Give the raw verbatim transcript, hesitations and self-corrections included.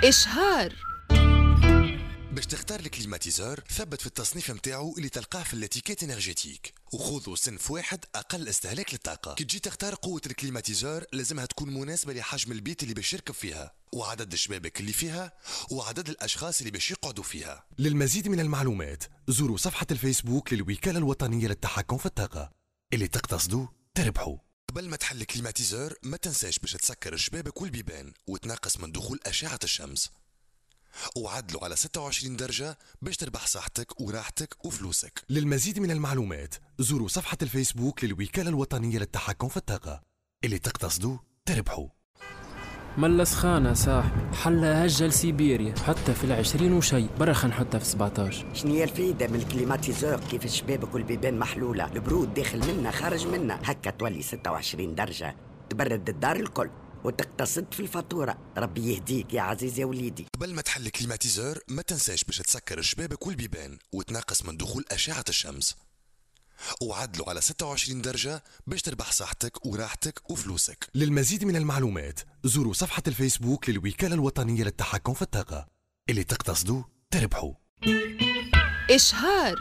إشهار. باش تختار ال climatiseur، ثبت في التصنيف نتاعو اللي تلقاه في l'étiquette énergétique، وخذوا صنف واحد اقل استهلاك للطاقه. كي تجي تختار قوة ال climatiseur، لازمها تكون مناسبة لحجم البيت اللي باش يركب فيها وعدد الشبابك اللي فيها وعدد الاشخاص اللي باش يقعدوا فيها. للمزيد من المعلومات زوروا صفحة الفيسبوك للوكاله الوطنية للتحكم في الطاقه. اللي تقتصدوا تربحوا. قبل ما تحل ال climatiseur، ما تنساش باش تسكر الشبابك والبيبان وتنقص من دخول أشعة الشمس، وعدلوا على ستة وعشرين درجة باش تربح صحتك وراحتك وفلوسك. للمزيد من المعلومات زوروا صفحة الفيسبوك للوكالة الوطنية للتحكم في الطاقة. اللي تقتصدوا تربحوا. ملا سخانة صاحبي، حلها هجة لسيبيريا، حتى في العشرين وشي برا، خلينا نحطها في سبعتاش. شنو هي الفايدة من ال climatiseur كيف الشبابك والبيبان محلولة؟ البرود داخل منا خارج منا. هكا تولي ستة وعشرين درجة تبرد الدار الكل وتقتصد في الفاتورة. ربي يهديك يا عزيز يا وليدي. قبل ما تحل ال climatiseur، ما تنساش باش تسكر الشبابك والبيبان وتنقص من دخول أشعة الشمس، وعدلوا على ستة وعشرين درجة باش تربح صحتك وراحتك وفلوسك. للمزيد من المعلومات زوروا صفحة الفيسبوك للوكالة الوطنية للتحكم في الطاقة. اللي تقتصدوا تربحوا. إشهار.